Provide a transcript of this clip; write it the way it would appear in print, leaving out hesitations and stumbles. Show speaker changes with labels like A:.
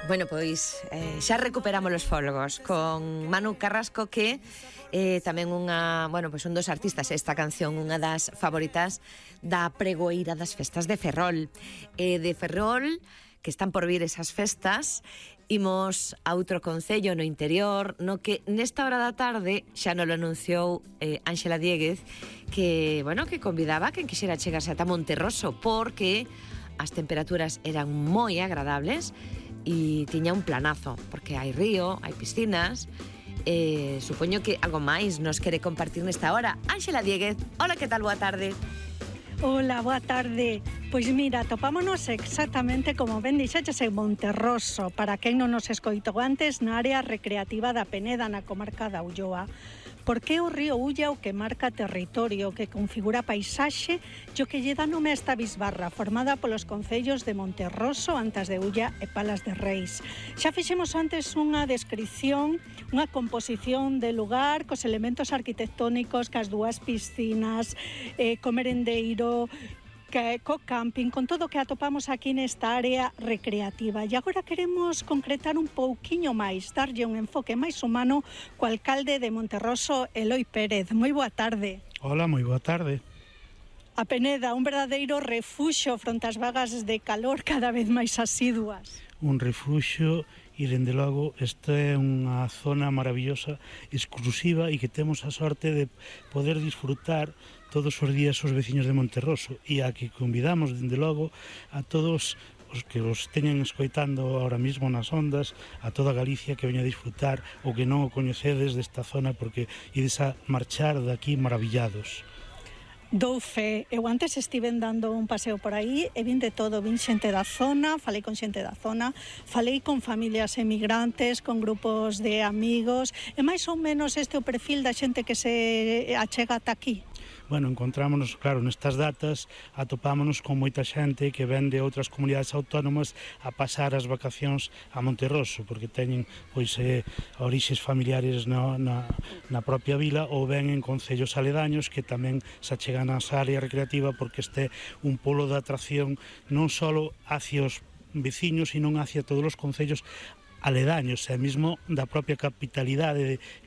A: Bueno, pois xa recuperamos os folgos con Manu Carrasco, que tamén un dos artistas. Esta canción unha das favoritas da pregoeira das festas de Ferrol. De Ferrol, que están por vir esas festas, imos a outro concello no interior, no que nesta hora da tarde xa nos lo anunciou Ánxela Dieguez, que convidaba a quen quixera chegarse ata Monterroso, porque as temperaturas eran moi agradables e tiña un planazo, porque hai río, hai piscinas. Supoño que algo máis nos quere compartir nesta hora. Ánxela Dieguez, hola, que tal? Boa tarde.
B: Hola, boa tarde. Pois mira, topámonos exactamente como ben dixeches en Monterroso, para quen non nos escoitou antes, na área recreativa da Peneda, na comarca da Ulloa. Porque é o río Ulla o que marca territorio, que configura paisaxe e o que lle dá nome a esta bisbarra, formada polos concellos de Monterroso, Antas de Ulla e Palas de Reis. Xa fixemos antes unha descripción, unha composición de lugar, cos elementos arquitectónicos, cas dúas piscinas, co merendeiro, co camping, con todo o que atopamos aquí nesta área recreativa. E agora queremos concretar un pouquiño máis, darlle un enfoque máis humano co alcalde de Monterroso, Eloi Pérez. Moi boa tarde.
C: Hola, moi boa tarde.
B: A Peneda, un verdadeiro refuxo fronte ás vagas de calor cada vez máis asiduas.
C: Un refuxo e, dende logo, esta é unha zona maravillosa, exclusiva, e que temos a sorte de poder disfrutar todos os días os veciños de Monterroso, e a que convidamos, dende logo, a todos os que os teñen escoitando ahora mismo nas ondas, a toda Galicia que veña a disfrutar o que non o coñecedes desta zona, porque ides a marchar daqui maravillados.
B: Dou fe, eu antes estiven dando un paseo por aí e vin de todo, vin xente da zona, falei con xente da zona, falei con familias emigrantes, con grupos de amigos, e máis ou menos este é o perfil da xente que se achega ata aquí.
C: Bueno, encontrámonos, claro, nestas datas atopámonos con moita xente que ven de outras comunidades autónomas a pasar as vacacións a Monterroso, porque teñen orixes familiares na propia vila, ou ven en concellos aledaños que tamén se achegan a esa área recreativa, porque este un polo de atracción non só hacia os veciños, sino hacia todos os concellos aledaños, e mesmo da propia capitalidade